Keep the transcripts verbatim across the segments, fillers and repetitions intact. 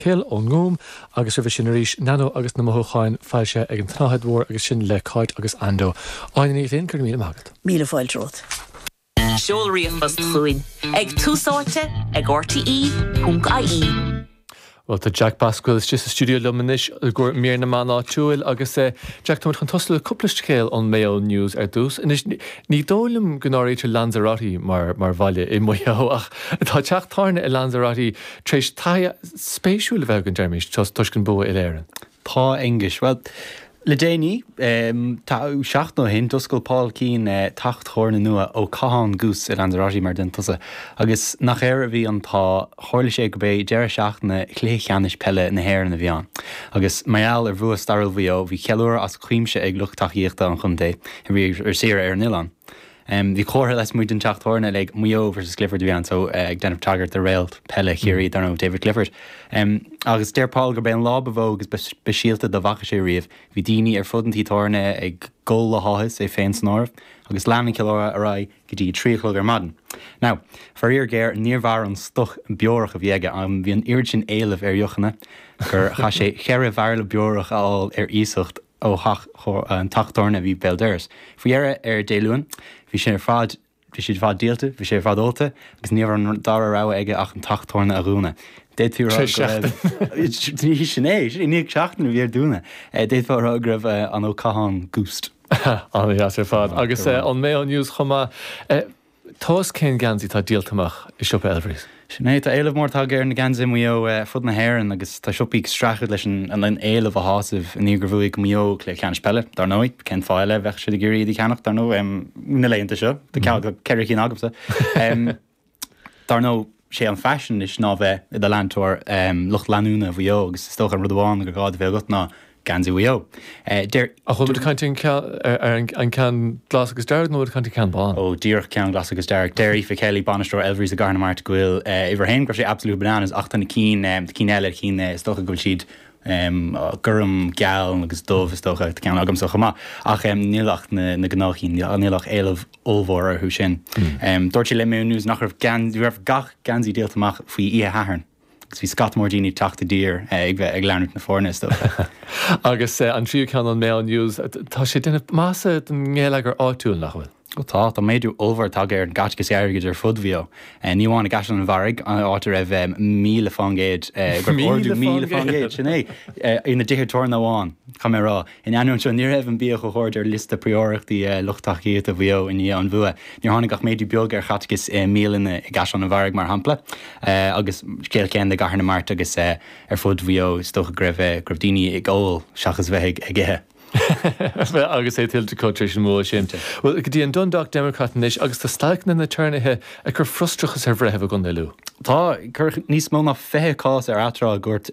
Cill ón nGúm agus roimhe sin arís Nano agus na Mothúcháin foilsithe ag an tSnáthaid Mhór agus sin le Cáit agus Ando. Áine Ní Ghlinn go raibh míle maith agat. Míle fáilte romhat. Seol ríomhphost chugainn ag Tús Áite ag RTE ponc IE. Well tá Jack Basquill istigh sa stiúideo liom anois go mír na meán áitiúil agus eh, Jack tá chun tosú le cúpla scéal ón Mayo News ar dtús. Anois ní dóigh liom go n-áirítear Lanzarote mar mar bhaile i Maigh Eo ach tá teach tábhairne i Lanzarote tar éis taithí spéisiúil a bheith againn deirmis toisc an bua uile-Éireann. Tá Aonghus. Well, le déanaí tá seachtain ó shin d'oscail Paul Keane eh, teach tábhairne nua Ó Catháin Goose i Lanzarote mar den tusa. Agus nach air a bhí an t-ádh tharla sé gurb é deireadh seachtaine chluiche ceannais peile na hÉireann a bhí ann. Agus mar gheall ar bhua stairiúil Mhaigh Eo bhí ceiliúradh as cuimse ag lucht tacaíochta an chontae a bhí ar saoire ar an oileán. Um, bhí comhartha lasmuigh den teach tábhairne le Maigh Eo versus Clifford a bhí ann so uh, ag déanamh tagairt do réalt peile Chiarraí dar ndóigh David Clifford. Um, agus deir Paul gurb é an lá ba mhó agus speisialta dá bhfaca sé riamh, bhí daoine ar fud an tí tábhairne ag gol le háthas é féin san áireamh, agus lean an ceiliúradh ar aghaidh go dtí trí a chlog ar maidin. Now, faraor géar níor mhair an stoc beorach a bhí aige an bhí an oiread sin éilimh ar dheochanna gur chaith sé ceithre bhairille beorach a fháil ar iasacht ó an teach tábhairne a bhí béal dorais. Faoi dheireadh ar Dé Luain, bhí sé ar fad bhí siad fad díolta, bhí sé ar fad ólta, agus ní raibh an dara rogha aige ach an teach tábhairne a dhúnadh. D'fhéadfaí rá ní sin é ní seachtain a bhí ar dúnadh. D'fhéadfá rá go raibh an Ó Catháin goosed. An-deas ar fad agus an Mayo News chomh maith Tós cén geansaí tá díolta amach i siopa Elvery's. Sin é tá éileamh mór tagtha ar na geansaithe Maigh Eo fud na hÉireann agus tá siopaí ag streachailt leis an an éileamh a shásamh i ndiaidh gur bhuaigh Maigh Eo cluiche ceannais peile, dar ndóigh, cén fáth eile bheadh siad ag iarraidh iad a cheannach dar ndóigh na laethanta seo, Tá ceithre cinn agamsa. Dar ndóigh sé an faisean is ná bheith i do leantóir lucht leanúna Mhaigh Eo agus is dócha an rud amháin gur gá do bheith agat ná geansaí Mhaigh Eo. Deir A bhfuil caint ar an ceann glas agus dearg nó caint ceann bán? ó díreach ceann glas agus dearg. Deir Aoife Kelly bainisteoir Elvery's i gCathair na Mart go bhfuil uimhir a haon go raibh sé absolute bananas ach tá na cinn cinn eile cinn is dócha go bhfuil siad um, gorm geal agus dubh is dócha ceann agamsa chomh maith ach um, níl ach na, na gnáthchinn níl ach éileamh ollmhór orthu sin. Um, Dúirt sí le Mayo News nach raibh gan raibh gach geansaí díolta amach faoi oíche Shathairn. agus bhí scata mór daoine teacht i dtír ag bheith ag leanúint na foirne is dócha. Agus an tríú ceann an Mayo News tá sé déanamh maitheasa don ngeilleagar áitiúil nach bhfuil. Ó tá tá méadú ollmhór tagtha ar an gcaiteachas airgid ar fud Mhaigh Eo. Ní amháin i gCaisleán an Bharraigh an áit a raibh míle faoin gcéad ordú míle faoin gcéad sin é ina dtithe tábhairne amháin cha mé rá. In ainneoin seo ní raibh an bia chomh hard ar liosta príorachtaí lucht tacaíochta Mhaigh Eo i ndiaidh an bhua. Níor tháinig ach méadú beag ar chaiteachas bialanna i gCaisleán an Bharraigh mar shampla agus scéal céanna i gCathair na Mart agus ar fud Mhaigh Eo is dócha go raibh go raibh daoine ag ól seachas bheith ag ithe. agus é tuillte acu an bua sin. Well go dtí an Dundalk Democrat anois agus tá stailc na n-aturnaetha ag cur frustrachas ar bhreithimh i gContae Lú. Tá cuireadh níos mó ná fiche cás ar atráth i gcúirt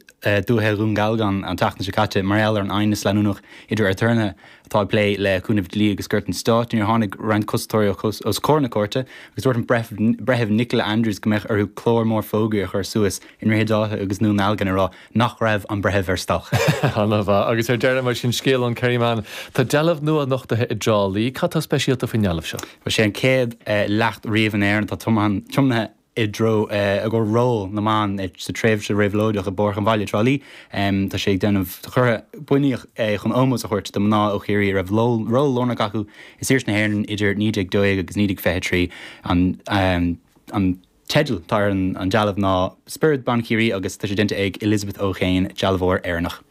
dúiche Dhún Galgán an tseachtain seo caite mar gheall ar an aighneas leanúnach idir aturnaetha atá ag plé le cúnamh dlí agus cúirt an stáit níor tháinig roinnt cosantóirí os comhair na cúirte agus dúirt an breitheamh Nicola Andrews go mbeadh orthu clár mór fógraí a chur suas i nDroichead Átha agus nDún Dealgan a rá nach raibh an breitheamh ar stailc. An-mhaith agus ar deireadh mar sin scéal ón Kerryman Tá dealbh nua nochtaithe i dTrá Lí, cad tá speisialta faoin ndealbh seo. Bhí sé an chéad leacht riamh in Éirinn atá tiomnaithe i dtreo i gcomhair ról na mban sa tréimhse réabhlóideach i bPáirc an Bhaile Trá Lí. Tá sé ag déanamh curtha bunaíodh é chun ómós a thabhairt do mná ó Chiarraí a raibh ról lárnach acu i saoirse na hÉireann idir naoi déag dó dhéag agus naoi déag fiche trí an an teideal atá ar an dealbh ná Spiorad Ban Chiarraí agus tá sé déanta ag Elizabeth O'Kane dealbhóir Éireannach.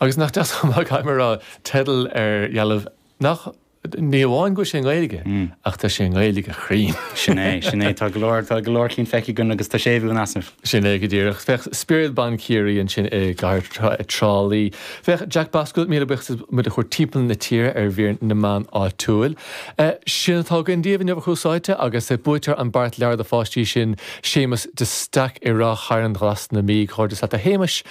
Agus nach deas caithfidh mé a rá teideal ar dhealbh nach ní amháin go sé Gaeilge ach tá sé Gaeilge chruinn. Sin é sin é tá go leor tá go leor cinn feicthe againn agus tá sé bhú asnah. Sin é go díreach Féach Spiorad Ban Chiarraí ansin i gcathair Trá Lí. Féach Jack Basquill míle buíochas muid a chur timpeall na tíre ar mhír na meán áitiúil. Sin atá againn daoibh inniu a Thús Áite agus buaiteoir an beart leabhar do pháistí sin Séamus de Staic i Ráth Chairn Ghlas na Mí comhghairdeas leat a Shéamais.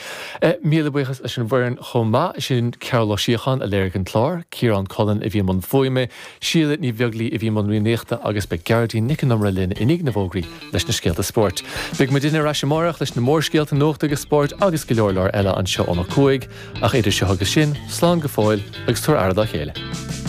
Míle buíochas leis an bhfoireann chomh maith sin Cearl Ó Síocháin a léirigh an clár, Ciarán Cullen a bhí i mbun fuaime, Síle Ní Bheaglaoí a bhí i mbun rúnaíochta agus beidh Gearóidín Nic an Iomaire linn i ndiaidh na bhfógraí leis na scéalta spóirt. Beidh muid ar ais amárach leis na mórscéalta nuachta agus spóirt agus go leor leor eile anseo óna cúig, ach idir seo agus sin, slán go fóill agus tabhair aire dá chéile.